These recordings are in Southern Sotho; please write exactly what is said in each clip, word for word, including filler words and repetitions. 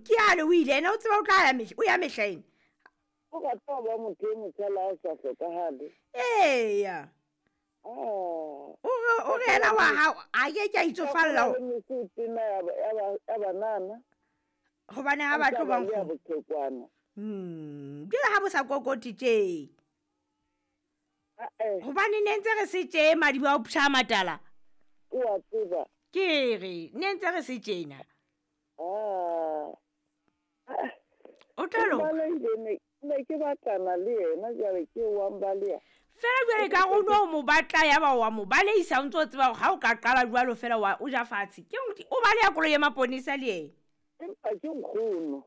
Ke ale o ile ena o tseba o tla ya mehla o ya mehleng. O rata ho ba motho e motjha le ha o sa hlokahale. Eya. Ah. O re o re yena wa hao a ke ke a itsofalla Ho mesotena ya ba- ya ba- ya banana. Hobane ha ba tlo ba Ya nkgono. bothekwana. Hmm, jwale ha bo sa kokote tje. Ah, eh. Hobane ne ntse re se tje madiba a o psha matala. O a tseba. Ke re ne ntse re se tjena. Ah. O tla loka. Balehile ne ne ke batlana le yena jwale ke wa mbaleha. Fela jwale ka re o no mo batla ya ba wa mo baleisa o ntso o tseba hore ha o ka qala jwalo fela wa o ja fatshe. Ke o o baleha koloi ya maponesa le yena. Empa ke nkgono.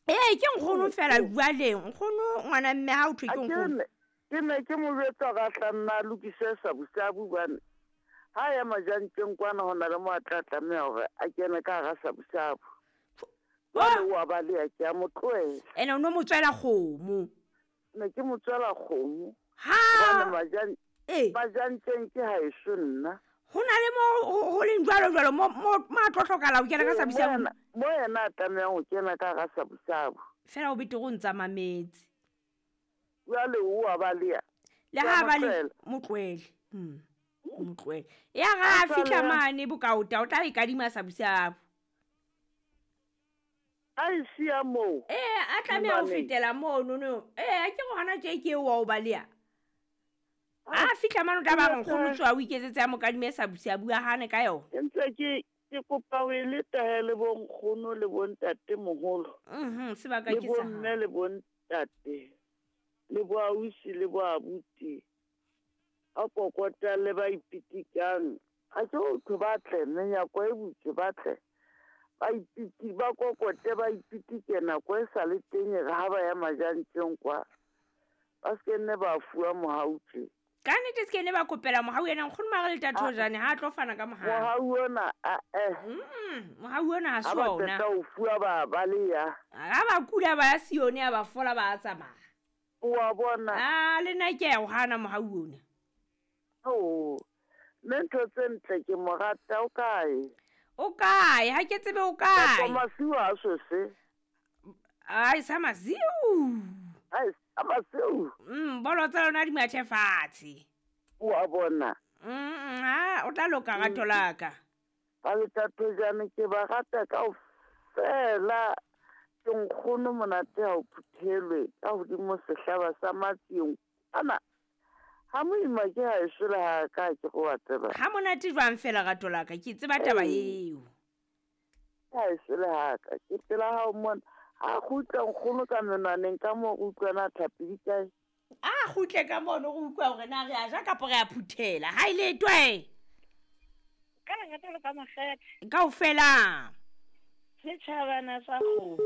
Ee, ke nkgono fela jwale. Nkgono ngwana mme ha o thwe A ke ke nkgono. ne ke ne ke mo jwetsa hore a tla nna a lokise sabusabu hobane ha ya majanteng kwana ho na le mo a tla tlameha hore a kene ka hara sabusabu. Jwale o a baleha ke a mo tlohela. Ene o no mo tswela kgomo. Ne ke mo tswela kgomo. Ha Hobane majan- Ee. majanteng ke haeso nna. Ho na le mo ho, ho leng jwalo jwalo mo, mo, mo a tlo hlokahala ho kena ka Ee, sabusabu. mo yena, mo yena a tlamehang ho kena ka hara sabusabu. Fela o betere o ntsa mametse. Jwale o a baleha. Le Ke a ha mo ba le tlohela. mo tlohele. Hmm. Mo tlohele. Ya ra A fihla tlohela. mane bokaota o tla e kadima sabusabu. A e siya moo. Ee, a tlameha ho Mobaneng. fetela mono no. Ee, a ke re hona tje ke eo wa o baleha. A fihla mane o tla ba re nkgono tswa o iketsetse a mo kadime sabusabu a hane ka yona. Ke ntse ke, ke kopa ho e leta he le bo nkgono le bo ntatemoholo. Mhm, sebaka Le ke bo sa mme hao. le bo ntate. Le bo ausi le bo abuti. A kokota le ba ipitikang. Ha ke ho thwe ba tle, menyako e butswe ba tle. Ba ipiti, ba kokote, ba ipitike nako e sa le teng e re ha ba ya majanteng kwa. Ba se ke nne ba fuwa mohau tje. Ka nnete se ke ne ba kopela mohau ena nkgono mare le Ah. Thojane ha a tlo fana ka mohau. Mohau ona, a, eh. Mm, mohau ona ha se Ha ba ona. qeta ho fuwa ba baleha. Ha ba kula ba ya Sione a ba fola ba tsamaya. O a bona. Ah, le nna ke a o hana mohau ona. Oh, mme ntho tse ntle ke mo rata o kae? O kae? Ha ke tsebe o kae. Kapa masiu a sose. Ai, sa masiu. Ai, sa masiu. Mm, bolo tsa lona di mathe fatshe. O a bona. Mm, ha, o tla loka rato la ka. Ba le Thojane ke ba rata kaofela. Ke nkgono monate ha o phuthelwe ka hodimo sehlaba sa matsieng. Ana, ha moima ke haeso le ha ka ke go wa tseba. Ha monate jwang fela rato la ka, ke tseba taba Ee. eo. Ke haeso le ha ka, ke pela hao mona. Ha kgutla nkgono ka menwaneng ka moo re utlwana tlhapi di kae? A kgutle ka mono re utlwa hore na re a ja kapa re a phuthela. Ha e le twe. Ka lerato le ka makgethe. Kaofela. Setjhabana sa kgomo.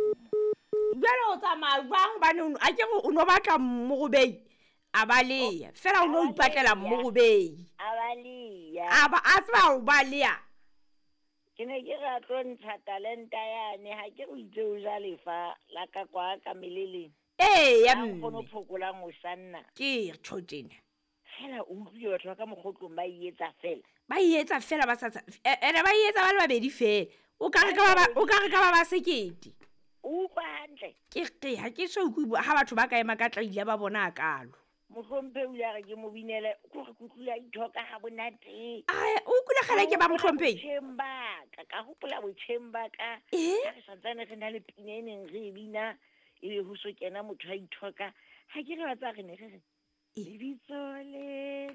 Jwale o tsamaya jwang hobane o no, a ke re o no batla morobei? A baleha. Fela o no A baleha. ipatlela morobei. A baleha. A ba, a tseba ho baleha. Ke ne ke re a tlo ntsha talenta yane, ha ke re o itse o ja lefa la ka kwa ka meleleng. Ee, ya Ha nkgono mme. phokolang o sanna. Ke re tjho tjena. Fela o utlwile batho ba ka mokgotlong ba e etsa fela. Ba e etsa fela ba sa tsa-, e, ene ba e etsa ba le babedi fela. O ka re ka ba ba, o ka re ka ba ba sekete. O utlwa hantle? Ke re ha ke so utlwe ha batho ba ka ema ka tlaila ba bona hakalo. Mohlomphehi o ile a re ke mo binele, ke hore ke utlwile a ithoka ha monate. Ai, o utlwile kgale ke ba Ka hopola mohlomphehi? botjheng ba ka, ka hopola botjheng ba ka. Eh? Ha re santsane re na le pina e neng re e bina, ebe ho so kena motho a ithoka. Ha ke re wa tseba re ne re re, Eh. lebitso le